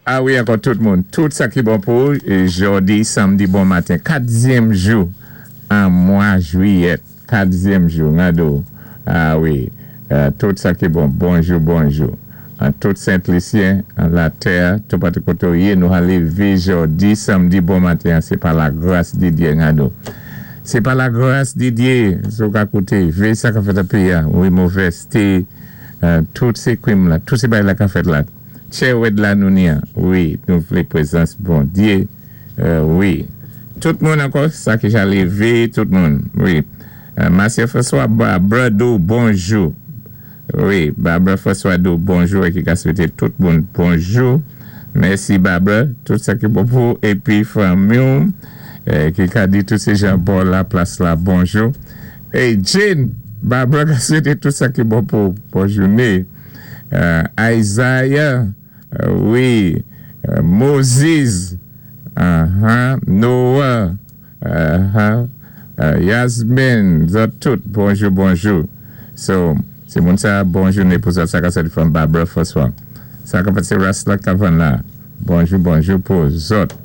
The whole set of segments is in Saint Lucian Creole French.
A wi, ankò tout moun. Tout sa ki bon pou jòdi, samdi bon maten. Katzyèm jou an mwa jwiyèt. Katzyèm jou, ngado. A wi, tout sa ki bon. Bonjou, bonjou. An tout Sent Lisyen, an latè, tout patou koté ou yé, nou ka lévé jòdi, samdi bon maten. Sé pa lagras di Diyé, ngado. Sé pa lagras di Diyé, sou ka kouté, vé sa ka fèt an péyi a. Wi, movèzté, tout sé kwim la, tout sé bagay la ka fèt la. Tchè wèd la nou ni an. Wi, nou vlé pwézans Bondyé. Wi. Tout moun ankò, sa ki ja lévé, tout moun. Wi. Masye François Barbara di ou bonjou. Wi, Barbara François di ou bonjou é ki ka swété tout moun bonjou. Mèsi, Barbara, tout sa ki bon pou épi fanmi ou, ki ka di tout sé jan bò la plas la bonjou. Hey, Jane, Barbara ka swété tout sa ki bon pou bon jouné. Isaiah, wi, Moses, Noah, Yasmin, zòt tout, bonjou, bonjou. So, sé moun sa, bon jouné pou zòt, sa ka sòti from Barbara François. Sa ka sé Rasla Kavan la. Bonjou, bonjou pou zòt.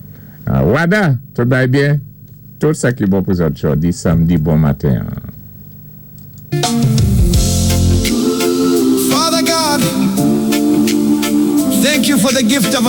Wada, tout bay byen? Tout sa ki bon pou zòt jòdi, samdi, bon maten. Father God, thank you for the gift of